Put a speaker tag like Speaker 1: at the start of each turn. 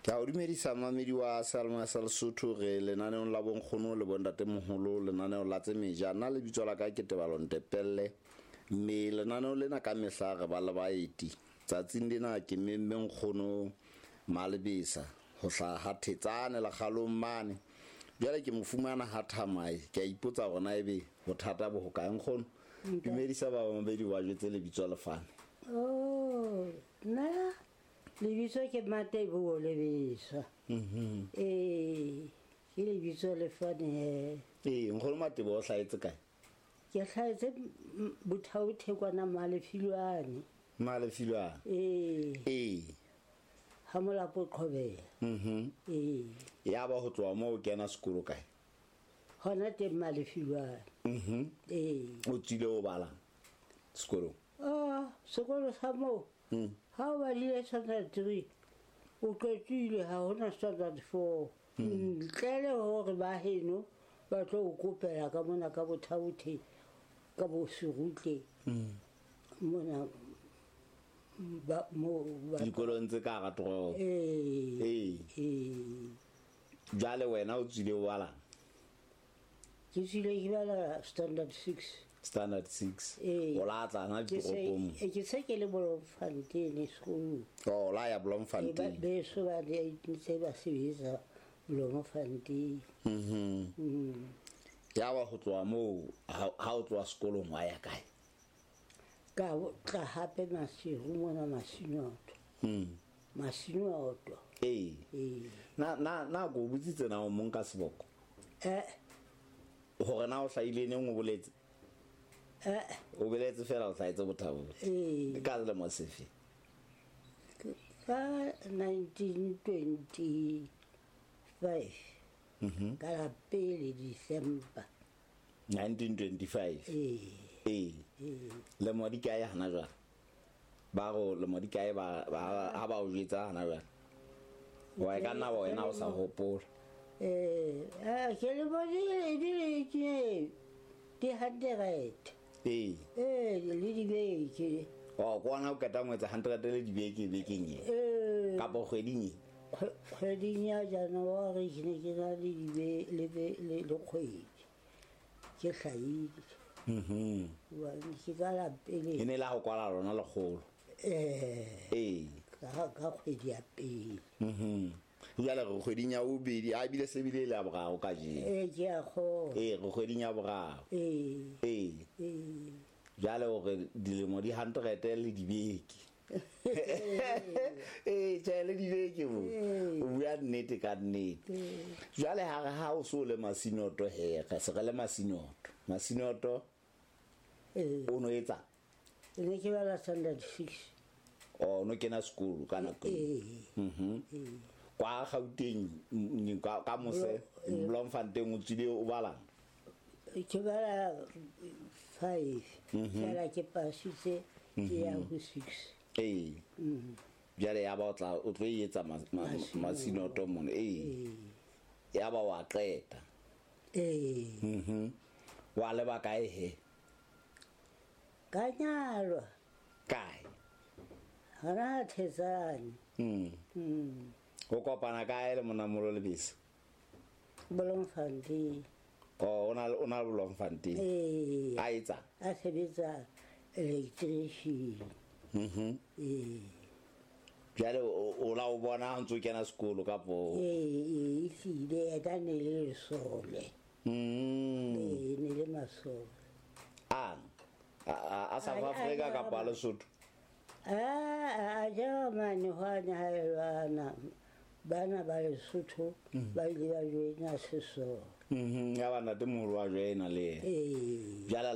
Speaker 1: Ke a o dumedisa mamedi wa Salma sa Lesotho re lenaneong la bonkgono le bontatemoholo lenaneo la tse meja nna lebitso la ka ke Tebalo Ntepelle mme lenaneo lena ka mehla re ba le baeti tsatsing lena ke memme nkgono Malebesa ho hlaha ha Thetsane lekgalong mane jwale ke mo fumana ha Thamae ke a ipotsa hore na ebe bothata bo hokae nkgono dumedisa ba bamabedi ba jwetse lebitso lefane.
Speaker 2: Oh, nna lebitso ke Mateboho Lebesa. Ee, ke lebitso lefane he.
Speaker 1: Ee, nkgono Mateboho o hlahetse kae?
Speaker 2: Ke hlahetse Bothaothe kwana Malefilwane.
Speaker 1: Malefilwane.
Speaker 2: Ee.
Speaker 1: Ee.
Speaker 2: Ha Molapo Qhobela. Ee.
Speaker 1: Ya ba ho tloha moo o kena sekolo kae?
Speaker 2: Hona teng Malefilwane. Ee.
Speaker 1: O tswile o balang sekolong?
Speaker 2: Ah, sekolo sa moo. Ha o badile standard 3, o qetile ha hona standard 4. Ntle le hore ba heno ba tlo o kopela ka mona ka Bothaothe ka bo Serutle. Mona ba mo ba
Speaker 1: dikolong tse ka hara toropo.
Speaker 2: Ee.
Speaker 1: Ee.
Speaker 2: Ee.
Speaker 1: Jwale wena o tswile o balang?
Speaker 2: Ke tswile ke bala standard 6.
Speaker 1: Standard 6.
Speaker 2: Ee.
Speaker 1: O la tla na
Speaker 2: Ke se
Speaker 1: ditoropong.
Speaker 2: ke se ke le Bloemfontein sekolong.
Speaker 1: Oh, la ya Bloemfontein.
Speaker 2: Beso ba di ntse ba sebetsa Bloemfontein.
Speaker 1: Ya ba ho tloha moo ha o tloha sekolong wa ya kae?
Speaker 2: Ka tla hape Maseru mona Masinoto. Masinoto.
Speaker 1: Ee.
Speaker 2: Ee.
Speaker 1: Na na na go botsitse na o mong ka seboko?
Speaker 2: Eh.
Speaker 1: Hore na o hlahile neng o boletse?
Speaker 2: Eh.
Speaker 1: O boletse fela o hlahetse Bothaothe.
Speaker 2: Ee.
Speaker 1: Ka selemo sefe?
Speaker 2: Ka 1925. Ka la pele December.
Speaker 1: 1925.
Speaker 2: Ee.
Speaker 1: Ee. Lemo di kae hana jwale? Ba go lemo di kae ba ha ba o jwetsa hana jwale? Wa e ka nna ba wena o sa hopola.
Speaker 2: Eh, ke le bone di le ke di 100.
Speaker 1: Ee.
Speaker 2: Eh, le dibeke.
Speaker 1: Oh, kwana o qeta ho etsa 100 le dibeke bekeng e.
Speaker 2: Eh.
Speaker 1: Kapa kgweding e.
Speaker 2: Kgweding ya January ke ne ke na le dibe le le le kgwedi. Ke hlahile. Hobane ke ka la pele.
Speaker 1: E ne la ho kwala lona lekgolo.
Speaker 2: Eh.
Speaker 1: Ee.
Speaker 2: Ka kgwedi ya pele.
Speaker 1: Jwale re kgweding ya bobedi, a ebile se bile le ya boraro kajeno.
Speaker 2: Ee, ke a kgolwa.
Speaker 1: Ee, re kgweding ya boraro.
Speaker 2: Ee.
Speaker 1: Ee.
Speaker 2: Ee.
Speaker 1: Jwale hore dilemo di 100 le dibeke. Ee, tjhe le dibeke bo. O bua nnete ka nnete. Jwale ha re ha o so le Masinoto he, re se re le Masinoto. Masinoto o no etsa?
Speaker 2: Ne ke bala standard 6.
Speaker 1: Oh, no kena sekolo ka nako eo.
Speaker 2: Ee.
Speaker 1: Kwa Gauteng ka mose Bloemfontein o tswile o balang?
Speaker 2: Ke bala 5. Fela ke pasitse ke ya ho 6.
Speaker 1: Ee. Jwale ya ba o tla o tlo etsa Masinoto mona. Ee. Ya ba wa qeta.
Speaker 2: Ee.
Speaker 1: Wa leba kae he?
Speaker 2: Ka nyalwa.
Speaker 1: Kae?
Speaker 2: Hona Thetsane.
Speaker 1: O kopana kae le monamolo Lebese?
Speaker 2: Bloemfontein.
Speaker 1: Oh, o na le Bloemfontein.
Speaker 2: Ee.
Speaker 1: A etsa?
Speaker 2: A sebetsa electrician. Ee.
Speaker 1: Jwale o la o bona ha ntse o kena sekolo kapo?
Speaker 2: Ee, ehlile yena ne le lesole. Ee, ne le masole.
Speaker 1: A a South Africa kapa Lesotho?
Speaker 2: A Jeremane hwane ha e lwana. Bana ba Lesotho ba ile ba joina sesole.
Speaker 1: Ya ba ntatemoholo wa joina le yena.
Speaker 2: Ee.
Speaker 1: Jwale